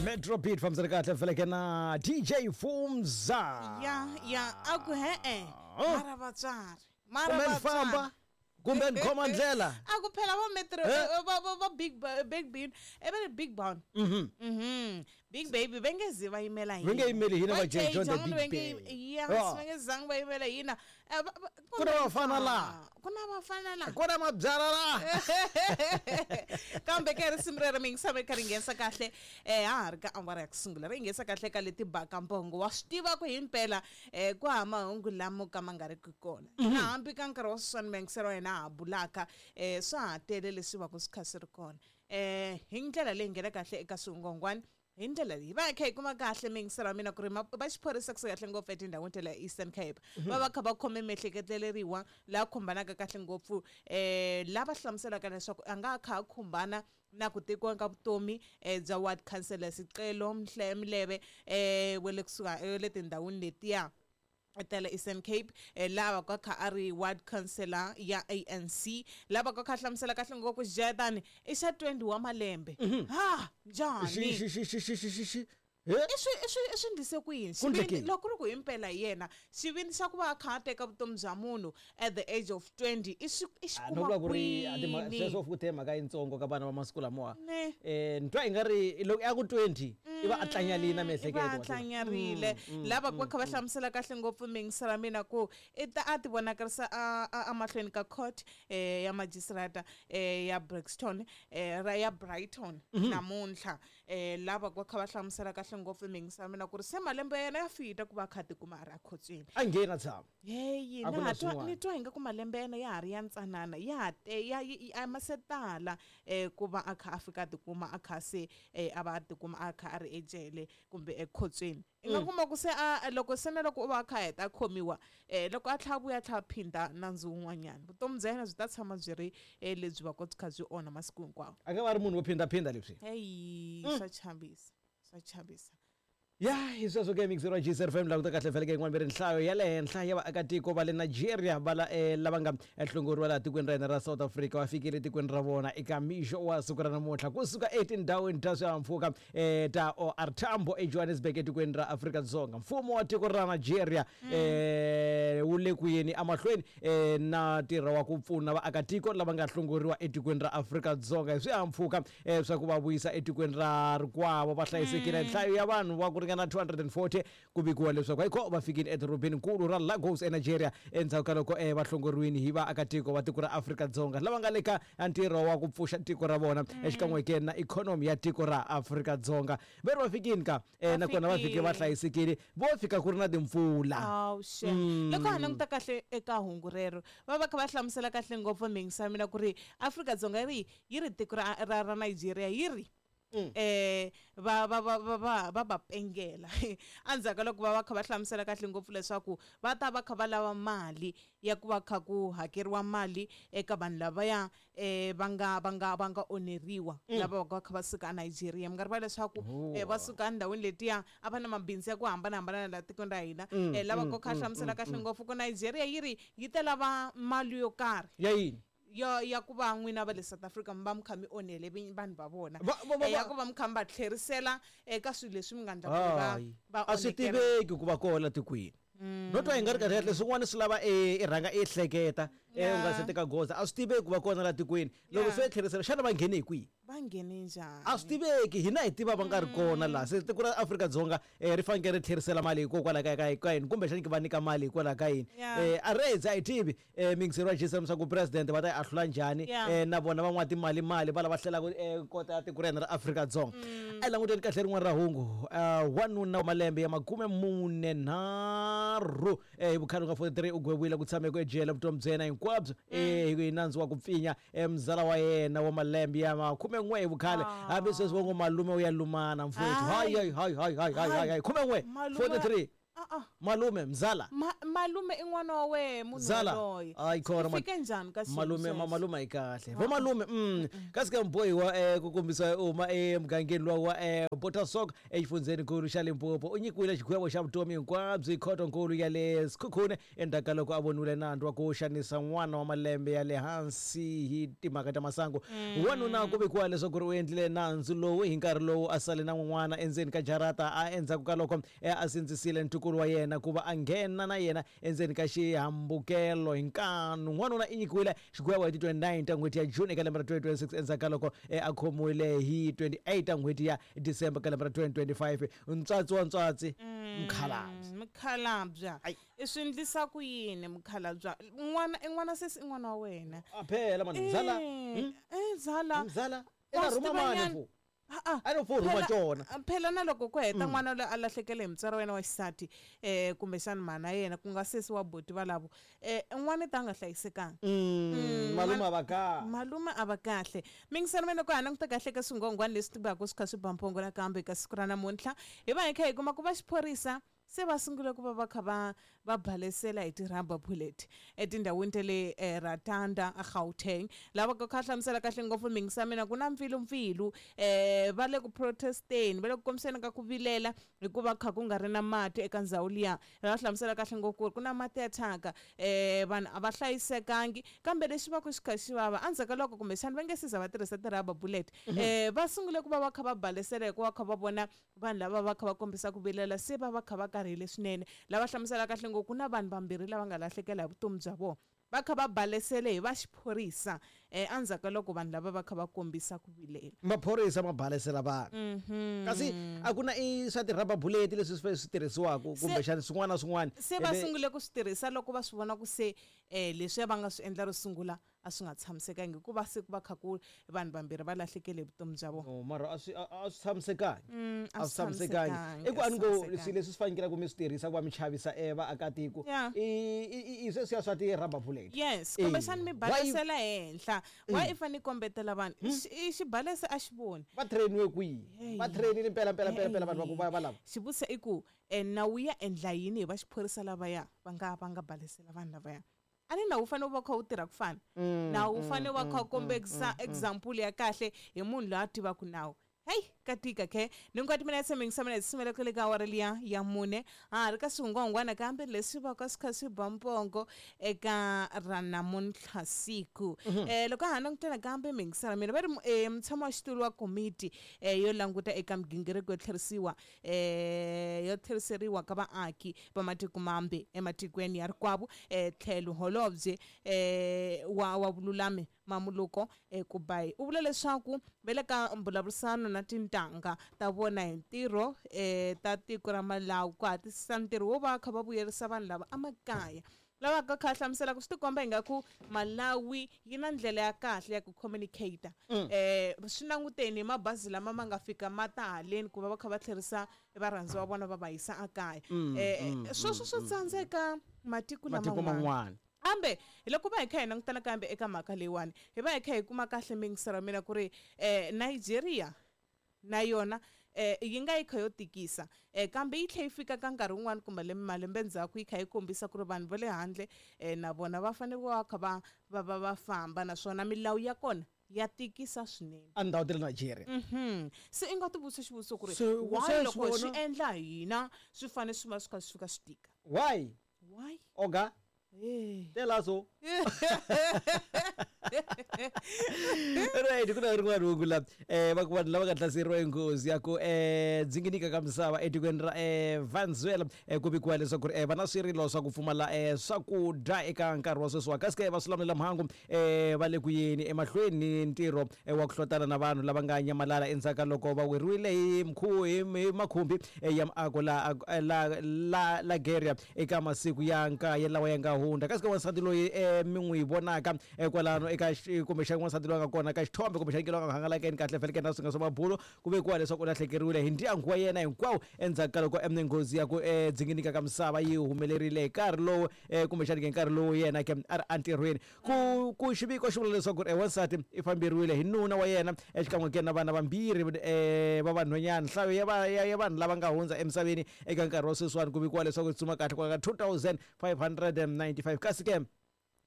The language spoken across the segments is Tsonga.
Metro Beat fambisana kahle feleke na DJ Fumza. Ya ya, a ku he-e. Oh. Mara vatswari, mara Kumbe ni famba vatswari. kumbe ni khoma ndlela. A ku phela va Metro Eh? va Big Big Bean, e va ri Big Brown. Big Baby va nge zi va yimela hina. Va nge yimeli hina va J John the Jay Big va nge Baby. Ya, Ah. va nge zangi va yimela hina. Eh, Ku na vafana laha. Ku na vafana laha. Ku na mabyala laha. Kambe ke risimu rero mi yingisame ri kha ri nghenisa kahle ha ha ri ka awara ya ku sungula, ri nghenisa kahle ka leti baka mbongo. Wa swi tiva ku himpela ku hava mahungu lamo ka ma nga ri ki kona. Na hambi ka nkarhi wa sweswiwani miyingiselo wa hina ha bulaka, swa ha tele leswi va ku swi kha swi ri kona. Hi ndlela leyi nghena kahle eka swingongwani, hi ndlela leyi va kha hi kuma kahle miyingiselo wa mina ku ri va xiphorisa kusuka kahle ngopfu etindhawini ta le Eastern Cape, va va kha va khome miehleketeleriwa laha khumbanaka kahle ngopfu, lava hlamuselaka leswaku a nga kha a khumbana na ku tekiwa ka vutomi bya ward councillor Sicelo Mlebe, wa le kusuka le tindhawini letiya ta le Eastern Cape, lava ka kha a ri ward councillor ya ANC, lava ka kha hlamusela kahle ngopfu Jordan i xa 20 wa malembe. Ha njhani? Xi xi xi xi xi xi xi xi. He? I swi ndlise ku yini? Ku endlekile. Xivindzi, loko ku ri ku himpela hi yena, xivindzi xa ku va a kha a teka vutomi bya munhu at the age of 20 i swi i xi Ah, no kuma vula ku ri a kwini? sweswo futhi mhaka yitsongo ka vana va masiku lamawa. Ne. Ni twa i nga ri loko ya ku 20 i va a tlanyarile na I va miehleketo. a tlanyarile. Lava va kha va hlamusela kahle ngopfu miyingiselo ya mina ku i ta a ti vonakarisa a mahlweni ka court ya magistrata ya Brixton, ra ya Brighton namuntlha. Lava va kha va hlamusela kahle ngopfu miyingiselo ya mina ku ri se malembe ya yena ya fita ku va a kha a tikuma a ri akhotsweni. A nghena tshama. Heyi, A ku na na ha twa, swin'wana. ni twa ingaku malembe ya yena ya ha ri ya ntsanana, ya ha te, ya, yi, a ma se tala ku va a kha a fika a tikuma a kha se a va a tikuma a kha a ri ejele kumbe ekhotsweni. I nga kuma ku se a, loko se na loko u va a kha a heta a khomiwa, loko a tlhela a vuya a tlhela a phinda nandzu wun'wanyana, vutomi bya yena byi ta tshama byi ri lebyi va ka byi kha byi onha masiku hinkwawo. A nga va ri munhu wo phindaphinda leswi. Heyi, swa chavisa, swa chavisa. Ya, hi sweswo ke mixer wa GCR FM languta kahle vhele ke yin'wana ve ri nhlayo ya le henhla ya vaakatiko va le Nigeria va la lava nga hlongoriwa laha tikweni ra hina ra South Africa va fikile etikweni ra vona eka mixo wa siku ra namuntlha kusuka etindhawini ta swihahampfhuka ta OR Tambo eJohannesburg etikweni ra Afrika-Dzonga. Mfumo wa tiko ra Nigeria wu le ku yeni emahlweni na ntirho wa ku pfuna vaakatiko lava nga hlongoriwa etikweni ra Afrika-Dzonga hi swihahampfhuka swa ku va vuyisa etikweni ra rikwavo va hlayisekile. Nhlayo ya vanhu va ku ringana 240 ku vikiwa leswaku ayikho va fikile edorobeni nkulu ra Lagos eNigeria endzhaku ka loko va hlongoriwile hi vaakatiko va tiko ra Afrika-Dzonga lava nga le ka ntirho wa ku pfuxa tiko ra vona exikan'we ke na ikhonomi ya tiko ra Afrika-Dzonga. Va ri va fikile ka nakona va fike va hlayisekile, vo fika ku ri na timpfula. Awu xe. Loko ha languta kahle eka hungu rero, va va kha va hlamusela kahle ngopfu miyingiselo ya mina ku ri Afrika-Dzonga yi ri tiko ra Nigeria yi ri va, va, va, va, va, va va pengela. Endzhaku ka loko va va kha va hlamusela kahle ngopfu leswaku va ta va kha va lava mali ya ku va kha ku hakeriwa mali eka vanhu lavaya va nga onheriwa, lava va kha va suka eNigeria. Mi nga rivala leswaku, va suka endhawini letiya a va na mabindzu ya ku hambanahambana laha tikweni ra hina. Lava va kha hlamusela kahle ngopfu ku Nigeria yi ri yi ta lava mali yo karhi. Ya yini? Ya ku va n'wina va le South Africa mi va mi kha mi onhele vanhu va vona. Va, va, va, Ya va. ku va mi kha mi va tlherisela eka swilo leswi mi nga endla ku va Hayi. va A swi onhekela. tiveki ku va kona tikweni. No twa hi nga ri kahle kahle swin'wana swi lava i rhanga i hleketa, u nga se teka goza. A swi tiveki ku va kona laha tikweni. Loko se tlherisela, xana va nghene hi kwihi? Va nghene njhani? A swi tiveki, hina hi tiva va nga ri kona laha. Se tiko ra Afrika-Dzonga ri fanekele ri tlherisela mali hikokwalaho ka yini, kumbexana ki va nyika mali hikwalaho ka yini. A ri a hi tivi miyingiselo wa GCM swa ku president va ta yi ahlula njhani, na vona van'wana timali mali va lava hlelaka kota ya tiko ra hina ra Afrika-Dzonga. A hi languteni kahle rin'wana ra hungu. Wanuna wa malembe ya makume mune nharhu hi vukhale nga 43 u gweviwile ku tshameka ejele vutomi bya yena hinkwabyo hi nandzu wa ku pfinya mzala wa yena wa malembe ya makume n'we hi vukhale. Hambi sweswi va ngo malume u ya lumana mfowethu. Hayi. Hayi, hayi, hayi, hayi, hayi, hayi, hayi. Khume n'we, Malume 43. A-a. Malume mzala. Malume i n'wana wa wehe munhu Zala. yaloye. Hayi khona Swi man. fike njhani ka xiyimo Malume xexo? malume ayi kahle. Vo malume kasi ke mubohiwa ku kombisa u huma emugangeni luwa wa Botasok exifundzheninkulu xa Limpopo u nyikiwile xigwevo xa vutomi hinkwabyo hi khotonkulu ya le Sekhukhune endzhaku ka loko a voniwile nandzu wa ku xanisa n'wana wa malembe ya le hansi hi timhaka ta masangu. Wanuna ku vikiwa leswaku ri u endlile nandzu lowu hi nkarhi lowu a sale na n'wana endzeni ka jarata a endzhaku ka loko a sindzisile ntukulu wa yena ku va a nghena na yena endzeni ka xihambukelo hi nkanu. N'wanuna i nyikiwile xigwevo hi ti 29 ta n'hweti ya June eka lembe ra 2026 endzhaku ka loko a khomiwile hi 28 ta n'hweti ya December ka lembe ra 2025. Ntswatsi wa ntswatsi, mukhalabye. Mukhalabya. Ai. I swi endlisa ku yini mukhalabya? N'wana i n'wana sesi i n'wana wa wena. A phela mani mzala. Mzala. Mzala. Wa Eka swi rhuma tiva mani nyana. fu. A-a. A no fo rhuma Phela tona. Phela na loko ku heta n'wana loyi a lahlekele hi mutswari wa yena wa xisati kumbexana mhana yena ku nga sesi wa buti valavo n'wana ta nga hlayisekanga. Malume a va kahle. Malume a va kahle. Mingiselo mina loko ha languta kahle ka swinghongwani leswi tivaka swi kha swi ba mphongo nakambe ka siku ra namuntlha hi va hi kha hi kuma ku va xiphorisa se va sungule ku va va kha va va balesela hi ti-rubber bullet etindhawini ta le Ratanda eGauteng. Lava ka kha hlamusela kahle ngopfu mingisa mina ku na mpfilumpfilu va le ku protesteni, va le ku kombiseni ka ku vilela hikuva kha ku nga ri na mati eka ndhawu liya. Va hlamusela kahle ngopfu ku ri ku na mati ya thyaka vanhu a va hlayisekangi, kambe lexi va ku xi kha xi vava endzhaku ka loko kumbexana va nge se za va tirhisa ti-rubber bullet va sungule ku va va kha va balesela hikuva kha va vona vanhu lava va kha va kombisa ku vilela se va va kha va karhele swinene. Lava hlamusela kahle ngopfu ku na vanhu vambirhi lava nga lahlekela hi vutomi bya vona va kha va balesele hi va xiphorisa endzhaku ka loko vanhu lava va kha va kombisa ku vilela. Maphorisa ma balesela vanhu. Kasi a ku na i swa ti-rubber bullet leswi swi tirhisiwaka kumbexana swin'wana na swin'wana. Se va sungule ku swi tirhisa loko va swi vona ku se leswiya va nga swi endla ro sungula a swi nga tshamisekangi hikuva se ku va kha ku vanhu vambirhi va lahlekele hi vutomi bya vona. No, mara a swi a swi tshamisekangi. A A swi swi tshamisekangi. tshamisekangi, I ku a a ni swi ngo tshamisekangi. swilo leswi swi fanekele ku mi swi tirhisa ku va mi chavisa vaakatiko. I sweswiya swa ti-rubber bullet. Yes, kumbexana mi Why balesela henhla. Why i fanele i kombetela vanhu? I xibalesa a xi voni. Va trainiwe kwihi? Va trainile mpela mpela mpela mpela vanhu va ku va lava. Xivutiso i ku nawu ya endla yini hi va xiphorisa lavaya va nga balesela vanhu lavaya? A ni nawu wu fanele wu va kha wu tirha ku fana. Nawu wu fanele wu va kha wu kombekisa example ya kahle hi munhu loyi a tivaka nawu. Hey, ka tika ke. Ni nga timina tshemengisa mina tshemela kwale ka awara liya ya 4. Ha ri ka swihungwahungwana kambe leswi va ka swi kha swi ba mpongo eka ra namuntlha siku. Loko ha langutana kambe mingisela mina va ri mutshami wa xitulu wa komiti yo languta eka migingiriko yo tlherisiwa yo tlheriseriwa ka vaaki va matiko mambe ematikweni ya rikwavo tlhelo holobye wa vululami Mamoloko Kubayi u vula leswaku va le ka mbulavurisano na tintangha ta vona hi ntirho ta tiko ra Malawi ku hatlisisa ntirho wo va kha va vuyerisa vanhu lava emakaya. Lava ka kha hlamusela ku swi tikomba ingaku Malawi yi na ndlela ya kahle ya ku communicate. Swi languteni hi mabazi lama ma nga fika ma ta haleni ku va va kha va tlherisa varhandziwa va vona va va yisa ekaya. Sweswo swo tsandzeka matiko Matiko laman'wana. man'wana. Kambe hi loko va hi kha hi langutana kambe eka mhaka leyiwani hi va hi kha hi kuma kahle mingiselo mina ku ri Nigeria na yona yi nga yi kha yo tikisa kambe yi tlhe yi fika ka nkarhi wun'wani kumbe malembe ndzhaku yi kha yi kombisa ku ri vanhu va le handle na vona va fanele va kha va va va va famba naswona milawu ya kona ya tikisa swinene. A ndhawu ta le Nigeria. Se i nga ti vutisa xivutiso ku ri Se why se loko swi swi vona- endla hina swi fanele swi va swi kha swi fika swi tika? Why? Why? Oga? Tell us all. Right, ku na rin'wana hungu la va ku vanhu lava nga hlaseriwa hi nghozi ya ku dzinginika ka misava etikweni ra Venezuela ku vikiwa leswaku ri va na swirilo swa ku pfumala swakudya eka nkarhi wa sweswiwa, kasi ke va swilamulela mhangu va le ku yeni emahlweni ni ntirho wa ku hlotana na vanhu lava nga nyamalala endzhaku ka loko va weriwile hi hi makhumbi ya miako la la Geria eka masiku ya nkaye lawa ya nga hundza. Kasi ke wansati loyi mi n'wi vonaka kwalano eka kumbexani n'wansati loyi a nga kona ka xithombe kumbexani ke loyi a nga hangalakeni kahle feleke na swinga swa mabulo ku vekiwa leswaku u lahlekeriwile hi ndyangu wa yena hinkwawo endzhaku ka loko nghozi ya ku dzinginika ka misava yi humelerile hi nkarhi lowu kumbexani ke nkarhi lowu yena ke a ri entirhweni. Ku xiviko xi vula leswaku wansati i famberiwile hi nuna wa yena exikan'we ke na vana vambirhi va vanhwanyana. Nhlayo ya vanhu lava nga hundza emisaveni eka nkarhi wa sweswiwani ku vikiwa leswaku yi tsuma kahle kwala ka 2595, kasi ke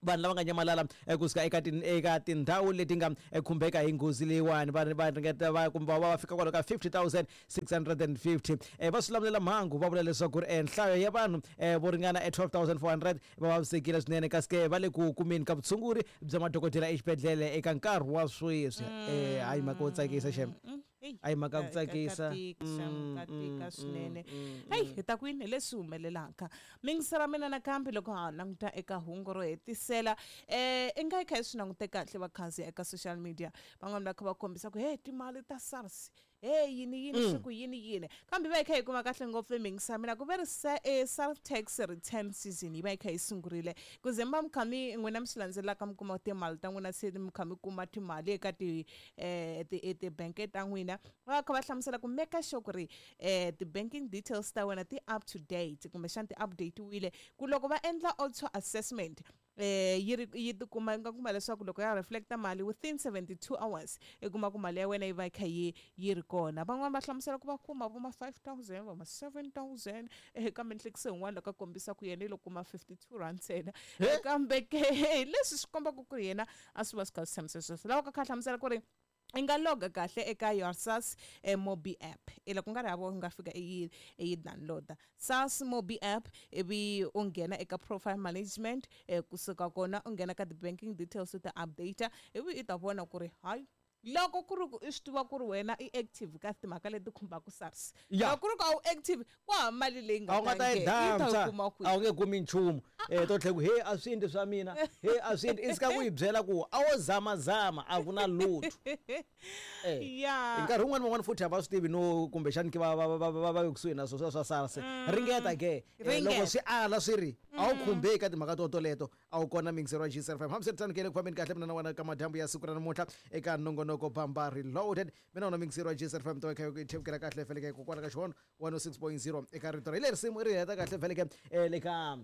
vanhu lava nga nyamalala kusuka eka tindhawu leti nga khumbeka hi nghozi leyiwani va ringeta va kumbe va fika kwalo ka 50,650. Va swi lamulela mhangu va vula leswaku nhlayo ya vanhu vo ringana 12,400 va vavisekile swinene, kasi ke va le ku kumeni ka vutshunguri bya madokodela exibedhlele eka nkarhi wa sweswi. Hayi mhaka wo tsakisa xem. A hi mhaka ku tsakisa. Ka tika swinene. Heyi, hi ta kwini hi leswi humelelaka mingisela mina nakambe loko ha languta eka hungu ro hetisela, i nga yi kha yi swi langute kahle vakhandziya eka social media, van'wani va kha va kombisa ku he timali ta SARS, he yini yini, swi ku yini yini, kambe va yi kha yi kuma kahle ngopfu mingisa mina ku ve ri SARS tax return season yi va yi kha yi sungurile, ku ze mi va mi kha mi n'wina mi swi landzelelaka, mi kuma timali ta n'wina, se mi kha mi kuma timali eka ti tibanke ta n'wina, va kha va hlamusela ku make sure ku ri ti-banking details ta wena ti up to date kumbexana ti update-wile, ku loko va endla auto assessment yi ri yi tikuma yi nga kuma leswaku loko ya reflecta mali within 72 hours, i kuma ku mali ya wena yi va yi kha yi ri kona. Van'wani va hlamusela ku va kuma vo ma 5000, vo ma 7000, kambe nhlekiso yin'wana loko a kombisa ku yena i lo kuma 52 rand ntsena. Kambe ke leswi swi kombaka ku ri yena a swi va swi kha swi tshamise sweswo, lava ka kha hlamusela ku ri i nga loga kahle eka your SARS Mobi app, i loko nga ri hava u nga fika i yi download SARS Mobi app, ivi u nghena eka profile management, kusuka kona u nghena ka ti-banking details u ta update, ivi i ta vona ku ri hayi loko ku ri ku i swi tiva ku ri wena i active ka timhaka leti khumbaka SARS, loko ku ri ku a wu active, ku hava mali leyi nga ta yi ta kuma kwihi, a wu nge kumi nchumu. To tlhela ku he a swi endli swa mina, he a swi endli, i sika ku yi byela ku a wo zamazama a ku na lutho. Hi nkarhi wun'wani van'wani futhi a va swi tivi no kumbexani ke va kusuhi na swo swa SARS. Ringeta ke loko swi ala swi ri a wu khumbeki ka timhaka to toleto, a wu kona mingisero wa GCFM. Hambiswiritano ke le ku fambeni kahle mina na wena ka madyambu ya siku ra namuntlha eka nongonoko Bamba Reloaded, mina wona mingisero wa GCFM to kha yi thevukela kahle feleke kokwala ka xihono 106.0 eka rito ra hi leri risimu ri heta kahle feleke le ka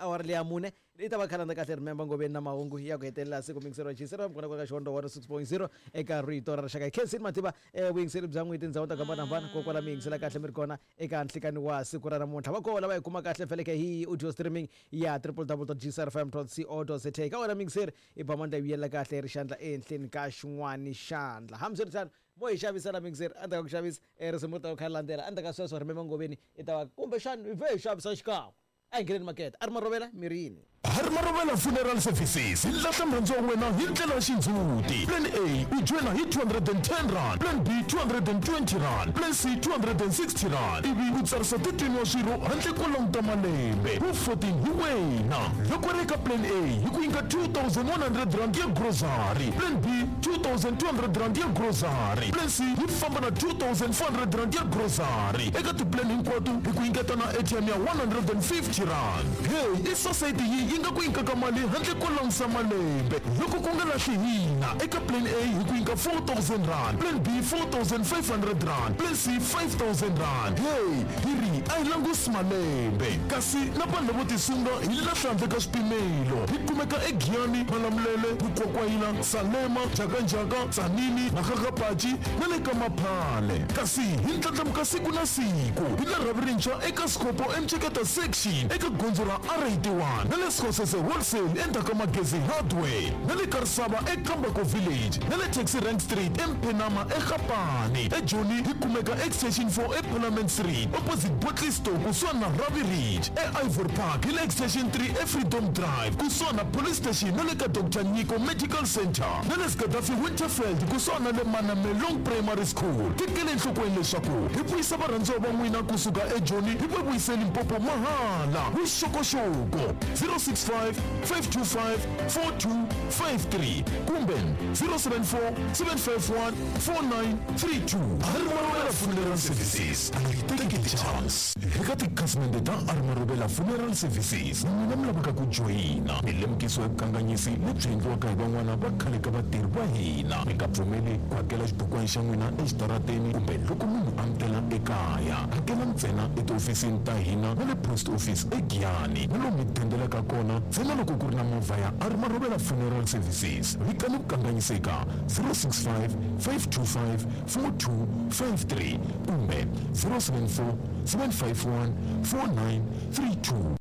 awara leya mune i ta va khalanda kahle. Remember ngoveni na mahungu ya ku hetelela siku mingisero wa GCFM kona kwala ka xihondo 106.0 eka rito ra rixaka. Hi khensini mativa vuyingiseri bya n'wini tindhawu ta ku hambanahambana kokwala mi yingisela kahle mi ri kona eka nhlikani wa siku ra namuntlha. Va koho lava hi kuma kahle feleke hi audio streaming ya www.gcrfm.co.za. Ka wena mingiseri i ba mandla yi vuyela kahle ri xandla ehenhleni ka xin'wani xandla. Hambiswiritano mo hi xavisela mingiseri, a ta ku xavisa risimu ri ta ku kha ri landzela endzhaku ka sweswo. Remember ngoveni i ta va kumbexani hi vhe hi xavisa xikan'we, a hi ngheneni makete a ri marovela mirini. Hari Marovela Funeral Services hi lahla murhandzi wa wena hi ndlela ya xindzhuti. Plan A u joyina hi 210 rand, Plan B 220 rand, Plan C 260 rand, ivi u tsarisa 13 wa swirho handle ko languta malembe wu 14 hi wena. Loko ri eka Plan A hi ku nyika 2100 rand ya grocery, Plan B 2200 rand ya grocery, Plan C yi famba na 2400 rand ya grocery. Eka tiplan hinkwato hi ku nyiketa na ATM ya 150 rand. Hey, i society yi nga ku nyikaka mali handle ko langusa malembe. Loko ku nga lahli hina, eka Plan A hi ku nyika 4000 rand, Plan B 4500 rand, Plan C 5000 rand. Hey, hi ri a hi langusi malembe, kasi na vanhu lavo tisunga hi lahla handle ka swipimelo. Hi kumeka eGiyani, Malamulele, Mukwakwayila, Salema, Jakanjaka, Tsanini, Makgagapaci na le ka Maphale. Kasi hi ndlandlamuka siku na siku hi la rhavi rintshwa eka Scopo eMceketa section eka gondzo ra R81, na le Sekgosese wholesale endzhaku ka Magezi Hardware, na le Karisava eKambako village, na le Taxi Rank Street eMphenama eGapane. EJoni hi kumeka extension 4 eParliament Street opposite Botley Store kusuhani na Ravi Ridge. EIvory Park hi le extension 3 eFreedom Drive kusuhani na police station na le ka Dr Nyiko Medical Center, na le Gaddafi Winterfeld kusuhani na le Manamelong Primary School. Tekele enhlokweni leswaku hi vuyisa varhandziwa va n'wina kusuka eJoni hi va vuyise Limpopo mahala. Vuxokoxoko 0 065 525 4253 kumbe 074 751 4932. Armarobela Funeral Services a yi teki ti-chance. Eka tikhasimende ta Armarobela Funeral Services, n'wina mi lavaka ku joyina milemukiso ya vukanganyisi lebyi endliwaka hi van'wana va khale ka vatirhi va hina. Mi nga pfumeli ku hakela xibukwana xa n'wina exitarateni kumbe loko munhu a mi tela ekaya. Hakela ntsena etihofisini ta hina na le post office eGiyani na lomu mi dendelaka kona ntsena loko ku ri na movha ya Armarobela Funeral Services. Vikani vukanganyisi eka 065 525 4253 kumbe 074 751 4932.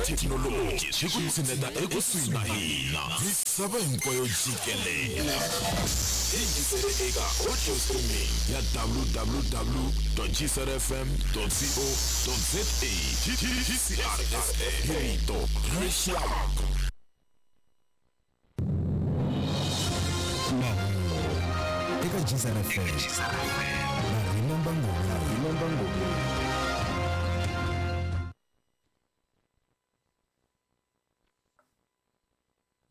Thekinoloji swi ku tshineta ekusuhi na hina misava hinkwayo jikelele. Yingisele eka audio streaming ya www gcrfm co za. GCRFM, hi rito ra rixaka. Mahungu eka GCRFM na Remember Ngoma. Remember Ngoma.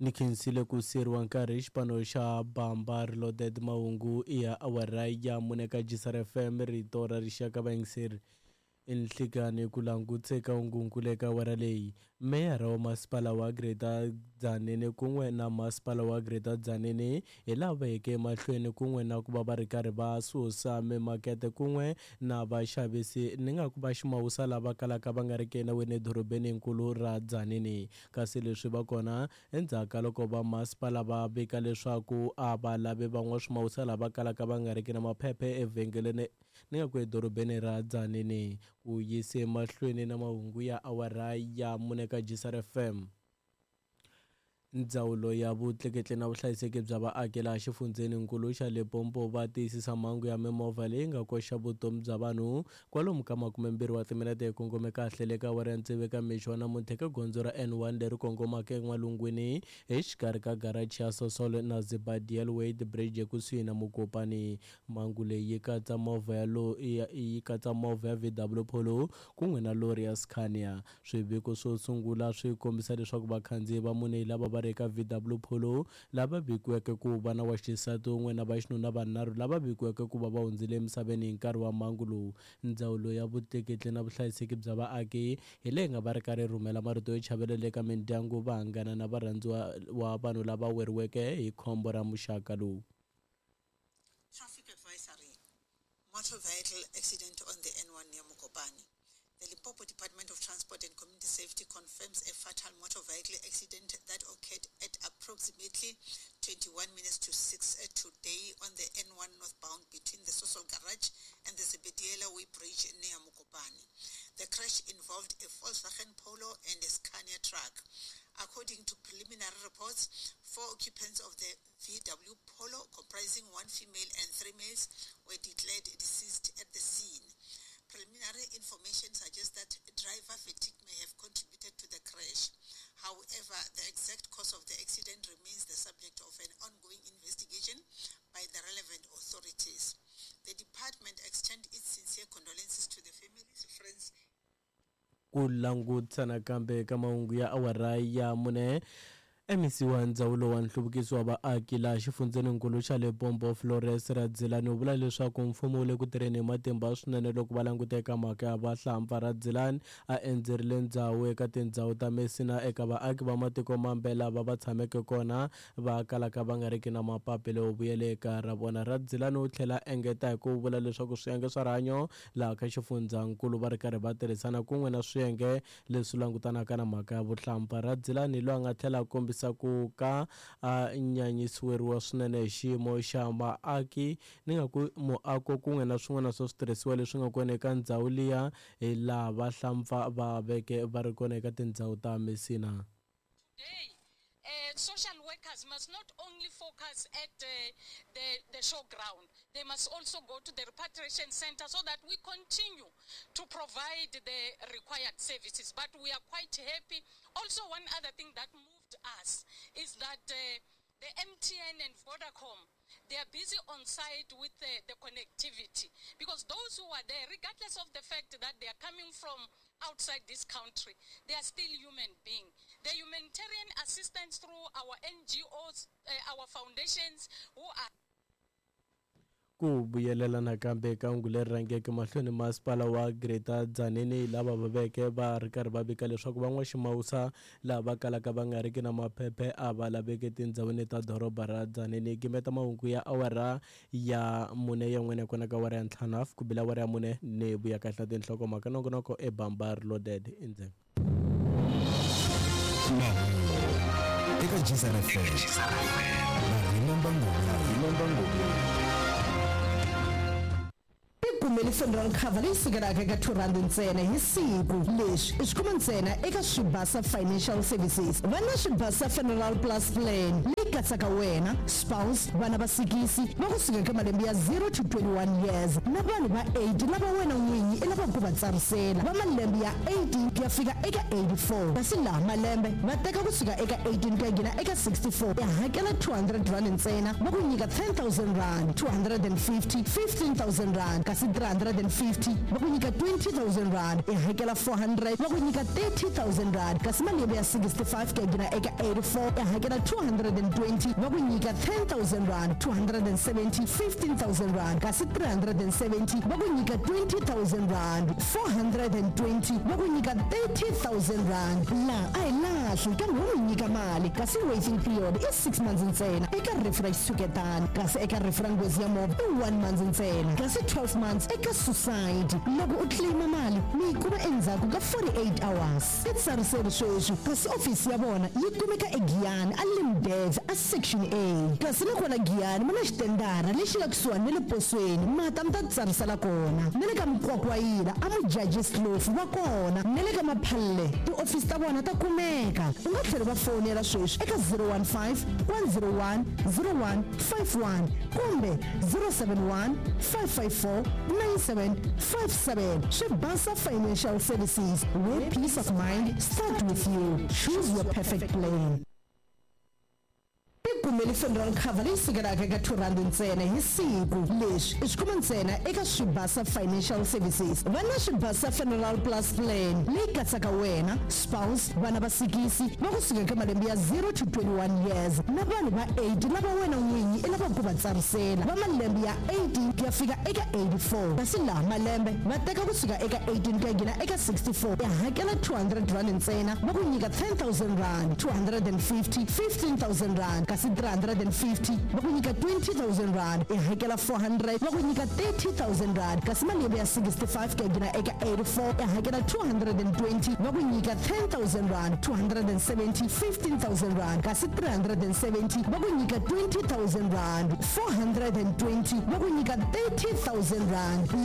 Ni khensile ku siyeriwa nkarhi hi xipano xa Bamba Reloaded. Mahungu i ya awara ya mune ka GCR FM, rito ra rixaka. Vayingiseri, enhlikani ku languteka hungunkulu eka awara leyi. Meyara wa masipala wa Greater Tzaneen kun'we na masipala wa Greater Tzaneen hi lava yeke emahlweni kun'we na ku va va ri karhi va susa mimakete kun'we na vaxavisi ni nga ku va ximawusa lava kalaka va nga ri ki enawini edorobeni nkulu ra Tzaneen. Kasi leswi va kona endzhaku ka loko va masipala va vika leswaku a va lavi van'waswimawusa lava kalaka va nga ri ki na maphephe evhengeleni ni nga ku edorobeni ra Tzaneen. Ku yise mahlweni na mahungu ya awara ya mune ka GCR FM. Ndzawulo ya vutleketli na vuhlayiseki bya vaaki laha xifundzheninkulu xa Limpopo va tiyisisa mhangu ya mimovha leyi nga koxa vutomi bya vanhu kwalomu ka 20 wa timinete hi kongome kahle le ka awara ya tsevu eka mixo wa namuntlha eka gondzo ra N1 leri kongomaka en'walungwini exikarhi ka garachi ya Sosol na Zibadiel Wade Bridge ekusuhi na Mokopane. Mhangu leyi yi katsa movha ya yi katsa movha ya VW Polo kun'we na lori ya Scania. Swiviko swo sungula swi kombisa leswaku vakhandziyi va mune lava va ri eka VW Polo lava vikiweke ku va na wa xisati un'we na vaxinuna vanharhu lava vikiweke ku va va hundzile emisaveni hi nkarhi wa mhangu lowu. Ndzawulo ya vutleketli na vuhlayiseki bya vaaki hi leyi nga va ri karhi rhumela marito yo chavelela eka mindyangu, vanghana na varhandziwa wa vanhu lava weriweke hi khombo ra muxaka lowu. Traffic advisory, motor vehicle accident on the N1 near Mokopane. The Limpopo Department of Transport and Community Safety confirms a fatal motor vehicle accident that occurred at approximately 21 minutes to 6 today on the N1 northbound between the Sosol Garage and the Zebediela Way Bridge near Mokopane. The crash involved a Volkswagen Polo and a Scania truck. According to preliminary reports, 4 occupants of the VW Polo, comprising 1 female and 3 males, were declared deceased at the scene. Preliminary information suggests that driver fatigue may have contributed to the crash. However, the exact cause of the accident remains the subject of an ongoing investigation by the relevant authorities. The department extends its sincere condolences to the families, friends. Ku langutisa nakambe ka mahungu ya awara ya mune. MEC wa ndzawulo wa nhluvukiso wa vaaki laha xifundzheninkulu xa Limpopo Flores Radzilani u vula leswaku mfumo wu le ku tirheni hi matimba swinene loko va languta eka mhaka ya vahlampfa. Radzilani a endzerile ndzhawu eka tindhawu ta Messina eka vaaki va matiko mambe lava va tshameke kona va kalaka va nga riki na mapapila yo vuyela eka ra vona. Radzilani u tlhela engeta hi ku vula leswaku swiyenge swa rihanyo laha ka xifundzankulu va ri karhi va tirhisana kun'we na swiyenge leswi langutanaka na mhaka ya vuhlampfa. Radzilani loyi a nga tlhela a kombisa ku ka a nyanyisiweriwa swinene hi xiyimo xa vaaki ni nga ku muako kun'we na swin'wana swa switirhisiwa leswi nga kona eka ndhawu liya hi laha vahlampfa va veke va ri kona eka tindhawu ta Messina. Social workers must not only focus at the showground, they must also go to the repatriation center so that we continue to provide the required services. But we are quite happy. Also, one other thing that moved us is that the MTN and Vodacom, They are busy on site with the, the connectivity because those who are there, regardless of the fact that they are coming from outside this country, they are still human beings. The humanitarian assistance through our NGOs, our foundations who are Ku vuyelela nakambe ka hungu leri rhangeke mahlweni masipala wa Greater Tzaneen lava va veke va ri karhi va vika leswaku van'waximawusa lava kalaka va nga riki na maphephe a va laveki etindhawini ta doroba ra Tzaneen. Gimeta mahungu ya awara ya mune yan'wini kona ka awara ya ntlhanu hafu ku bile awara ya mune ni vuya kahle na tinhlokomhaka nongonoko e bamba reloaded endzeni. Mahungu eka Gzar FM na Remember Ngomeni. Tikumeli funeral cover leyi sukelaka eka R2 ntsena hi siku. Leswi i swi kuma ntsena eka Swibasa Financial Services. Va na Swibasa Funeral Plus Plan leyi katsaka wena, spouse, vana va sikisi va kusuka eka malembe ya 0 to 21 years na vanhu va 8 lava wena n'winyi i lavaka ku va tsarisela va malembe ya 18 ku ya fika eka 84. Kasi laha malembe va teka kusuka eka 18 ku ya nghena eka 64, i hakela R200 ntsena va ku nyika R10 000, 250 R15 000, kasi 350 va ku nyika R20 000, i hakela 400 va ku nyika R30 000, kasi malembe ya 65 ku ya nghena eka 84 i hakela 220 va ku nyika R10 000, 270 R15 000, kasi 370 va ku nyika R20 000, 420 va ku nyika R30 000. Laha a hi lahli kambe wo mi nyika mali, kasi waiting period i 6 months ntsena eka rifu ra xitshuketana, kasi eka rifu ra nghozi ya movha i 1 month ntsena, kasi 12 months eka suicide. Loko u claima mali mi yi kuma endzhaku ka 48 hours. I tsariseri sweswi, kasi ofisi ya vona yi kumeka eGiyani a Limdev a Section A, kasi na kona Giyani ma na xitendara lexi nga kusuhani na le posweni, mata mi ta tsarisela kona. Na le ka Mukwakwayila a Mujajis Kloof va kona, na le ka Maphalle tiofisi ta vona ta kumeka. U nga tlhela va fonela sweswi eka 015 101 0151 kumbe 071 554 9757. Swibasa Financial Services, where peace of mind start with you. Choose your perfect plan. Tikumeli funeral cover leyi sukelaka eka R2 ntsena hi siku. Leswi i swi kuma ntsena eka Swibasa Financial Services. Va na Swibasa Funeral Plus Plan leyi katsaka wena, spouse, vana va sikisi va kusuka eka malembe ya 0 to 21 years na vanhu va 8 lava wena n'winyi i lavaka ku va tsarisela va malembe ya 18 ku ya fika eka 84, kasi laha malembe va teka kusuka eka 18 ku ya nghena eka 64, i hakela R200 ntsena va ku nyika R10 000, 250 R15 000, kasi 350 va ku nyika R20 000, i hakela 400 va ku nyika R30 000, kasi malembe ya 65 ku ya nghena eka 84 i hakela 220 va ku nyika R10 000, 270 R15 000, kasi 370 va ku nyika R20 000, 420 va ku nyika R30 000.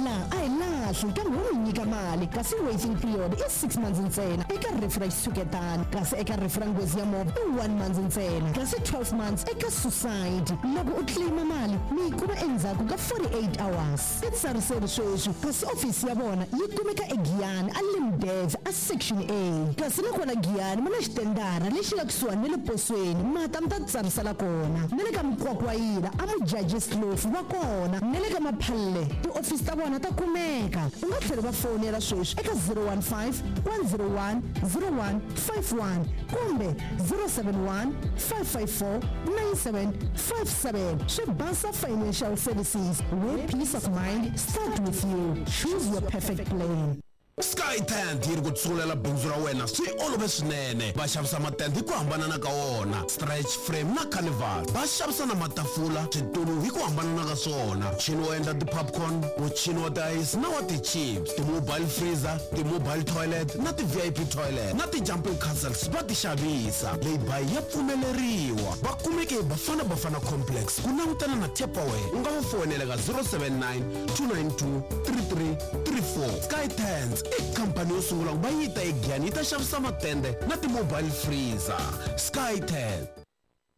Laha a hi lahli kambe wo mi nyika mali, kasi waiting period i 6 months ntsena eka rifu ra xitshuketana, kasi eka rifu ra nghozi ya movha i 1 month ntsena, kasi 12 months eka suicide. Loko u claima mali mi yi kuma endzhaku ka 48 hours. I tsariseri sweswi, kasi ofisi ya vona yi kumeka eGiyani a Limdev a Section A, kasi na kona Giyani ma na xitendara lexi nga kusuhani na le posweni, mata mi ta tsarisela kona. Na le ka Mukwakwayila a Mujajis Kloof va kona, na le ka Maphalle tiofisi ta vona ta kumeka. U nga tlhela va fonela sweswi eka 015 101 0151 kumbe 071 554 9757. Swibasa Financial Services, where peace of mind start with you. Choose your perfect plan. Sky Tent yi ri ku tsungulela bindzu ra wena swi olove swinene. Va xavisa matende hi ku hambanana ka wona, stretch frame na carnival. Va xavisa na matafula, switulu hi ku hambanana ka swona, muchini wo endla ti-popcorn, muchini wa ti-ice na wa ti-chips, ti-mobile freezer, ti-mobile toilet na ti-VIP toilet na ti-jumping castles va ti xavisa. Lay-by ya pfumeleriwa. Va kumeke hi Bafana Bafana Complex ku langutana na Tupperware. U nga va foyinela ka 079 292 3334. Sky Tents i khampani yo sungula ku va yi ta eGiyani yi ta xavisa matende na ti-mobile freezer. Sky Tent.